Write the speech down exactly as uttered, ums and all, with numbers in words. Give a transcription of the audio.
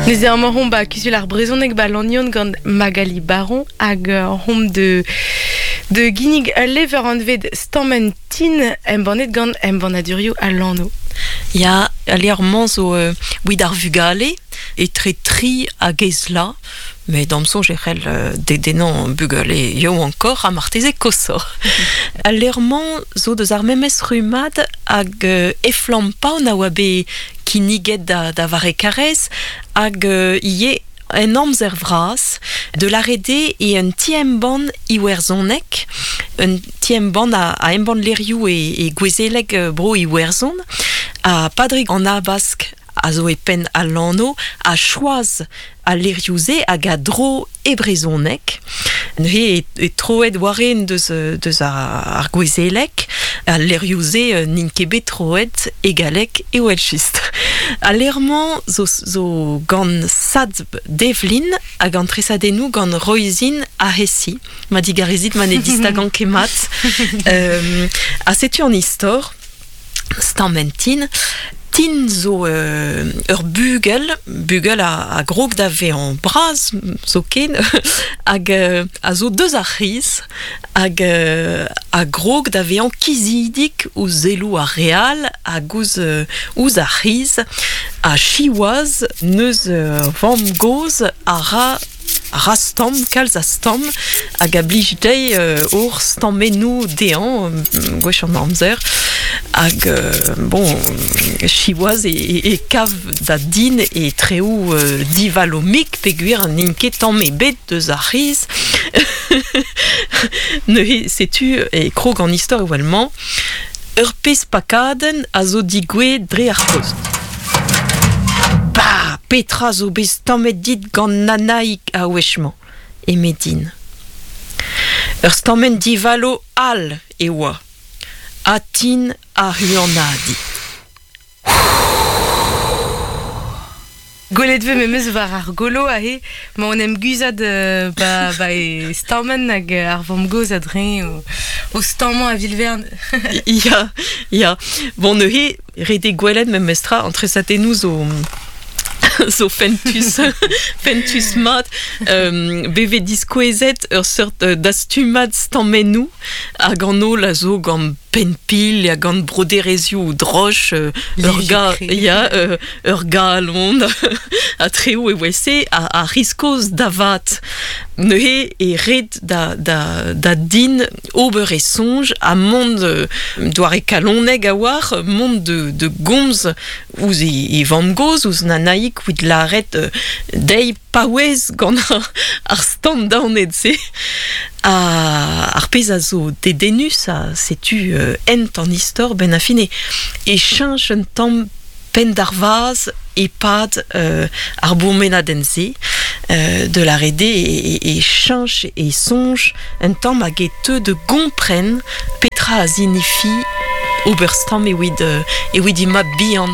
Neuze amañ hom ba kuzul ar brezhoneg ba Lannion gant Magali Baron hag euh, hom de de ginnig ul levr anvet Stammen Tin embannet gant embannadurioù al Lanno. Ya, al levr-mañ zo euh, wid ar vugale, etre tri hag ezla, met da'm soñj e c'hell euh, dedennañ bugale yaouankoc'h ha marteze koshoc'h. Al levr-mañ zo deus ar memes rummad hag euh, Eflamm-Paun a oa bet kinniget da, da Vare Karez hag euh, ivez en amzer vras de l'arede e un ti-embann iwerzhonek, un ti-embann a, a embann levrioù e, e gouezeleg euh, bro Iwerzhon, ha Padrig an Habask a zo e penn al Lanno a choaz al levrioù-se hag a dro e brezhoneg. Neuze e, e troet war-eeun deus, euh, deus ar, ar gouezeleg, al levrioù-se euh, n'int ket bet troet e galleg evel-just. Al levr-mañ zo, zo gant Sadb Devlin hag an tresadennoù gant Roisin Ahesi. Ma digarezit ma ne distagan ket mat. Euh, ha setu an istor, Stammen Tin. Tin zo euh, ur bugel, bugel a, a grog da vezañ bras zoken, hag euh, a zo deus ar c'hiz, hag euh, a grog da vezañ kizidik ouzh selloù ar re all hag ouzh, euh, ouzh ar c'hiz, ha siwazh neus euh, vamm-gozh a ra a ra stamm, kalz a stamm, hag a blij dezhi euh, ober stammennoù dezhañ, euh, gwech an amzer, hag euh, bon, siwazh e, e, e kav da Din e traoù euh, divalo-mik peogwir n'int ket tamm ebet deus ar c'hiz. Neuze setu e krog an istor evel-mañ, ur pezh pakadenn a zo digouezhet dre ar post. Ba, petra zo bet stammet dit gant Nanaig a wech-mañ, eme Din. Ur stammenn divalo all e oa. Ha Tin a huanadiñ. Gwelet 'vez memes war ar golo aze, ma en em guzhat euh, ba, ba e stammen hag ar vamm-gozh a-dreñv o, o stammañ a vil-vern. Ya, ya. Bon, neuze, ret eo gwelet memestra an tresadennoù zo zo fentus, fentus mat. Euh, beve diskouezet ur seurt euh, dastumad stammennoù hag an holl a zo gant penn-pil ha gant broderezioù droch, euh, ur ga, ya, euh, ur galon, ha traoù evel-se a, a riskoz da vat. Neuze e ret da, da, da Din ober e soñj ha mont euh, doare kalonek a-walc'h, mont de, de gomz ouzh e, e vamm-gozh, ouzh Nanaig evit lâret euh, dezhi paouez gant ar, ar stamm daonet-se. Ha ar pezh a zo dedennus ha setu euh, hent an istor ben a fin e, e cheñch un tamm penn d'ar vazh e-pad euh, ar bourmenadenn-se euh, de la rede e, e, e cheñch e soñj un tamm hag e teu de gompren petra a zinifi ober stamm evit, euh, evit he mab bihan.